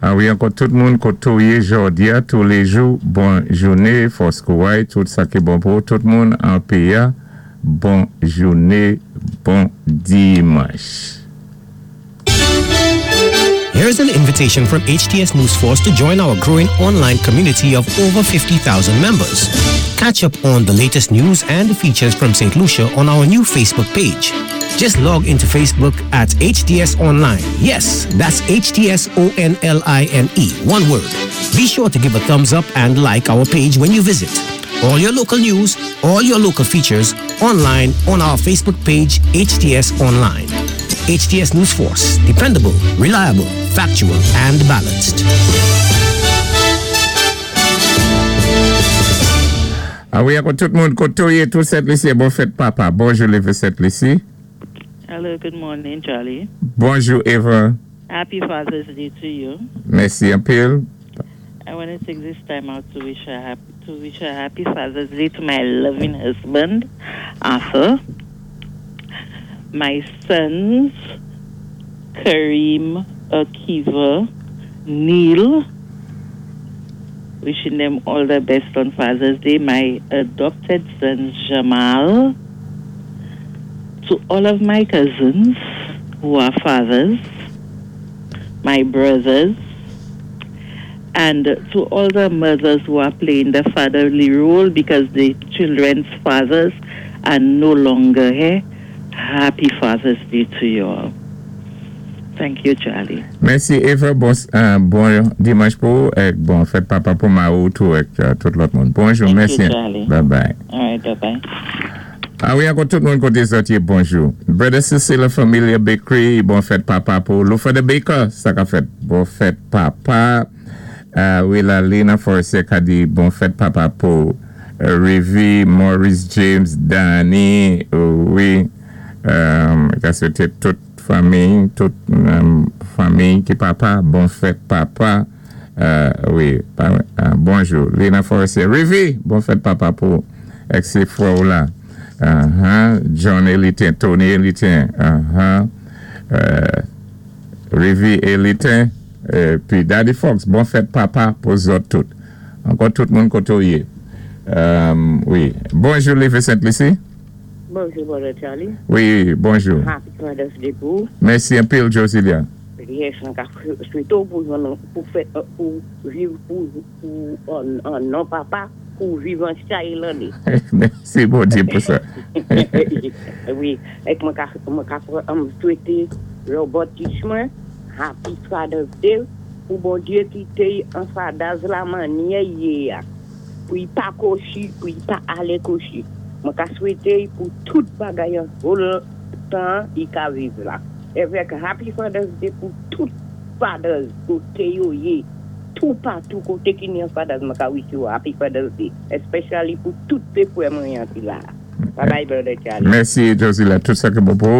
Ah wi, ankò tout moun koté ou yé jòdi-a, touléjou, bon jouné, fòs kouway, tout sa ki bon pou tout moun an péyi-a. Bon jouné, bon dimanch. Here's an invitation from HTS News Force to join our growing online community of over 50,000 members. Catch up on the latest news and features from St. Lucia on our new Facebook page. Just log into Facebook at HTS Online. Yes, that's HTS O N L I N E. One word. Be sure to give a thumbs up and like our page when you visit. All your local news, all your local features online on our Facebook page HTS Online. HTS News Force. Dependable, reliable, factual, and balanced. Ah wi, ankò tout moun koté ou yé, tout Sent Lisi, bon fèt papa. Bonjou, Leve Sent Lisi. Hello, good morning, Charlie. Bonjou, Eva. Happy Father's Day to you. Mèsi anpil. I want to take this time out to wish a happy Father's Day to my loving husband, Arthur, my sons, Kareem, Akiva, Neil, wishing them all the best on Father's Day, my adopted son, Jamal, to all of my cousins who are fathers, my brothers, and to all the mothers who are playing the fatherly role because the children's fathers are no longer here. Happy Father's Day to you all. Thank you, Charlie. Mèsi, Eva. Bon dimanch pou ou é bon fèt papa pou mari'w tou é tout lòt moun. Bonjou, Thank mèsi. you, Charlie. Bye bye. All right, bye-bye. Ah wi, ankò tout moun koté zòt yé, bonjou. Brother Cecilia Familia Bakery, bon fèt papa pou Lufa the Baker, sa ka fèt. Bon fèt papa. Ah wi, la Lina Forestier ka di bon fèt papa pou Rivi, Maurice James, Danny, wi, ka swété tout fanmi ki papa, bon fèt papa. Wi, bonjou. Lina Forestier, Rivi, bon fèt papa pou ex frè la. John Elitin, Tony Elitin, Rivi Elitin, épi Daddy Fox, bon fèt papa pou zòt tout. Ankò tout moun koté ou yé. Wi. Bonjou, Leve Sent-Lisi. Bonjou, brother Charlie. Wi, bonjou. Happy Father's Day pou. Mèsi anpil, Josilia. Yes, mwen ka swété pou fè pou viv pou an non papa pou viv an chay lanné. Mèsi, Bondyé, pou sa. Wi, é mwen ka swété Robert Tishman Happy Father's Day pou Bondyé kité an fathers la mannyè yé a. Pou y pa kwochi, pou y pa alé kwochi. Mwen ka swété pou tout bagay an whole tan i ka viv la. Avèk Happy Father's Day pou tout fathers koté yo yé. Tout patou koté ki ni an fathers mwen ka wish you Happy Father's Day. Especially pou tout té frè mwen ki la. Bye bye, brother Charlie. Mèsi, Josilia. Tout sa ki bon pou.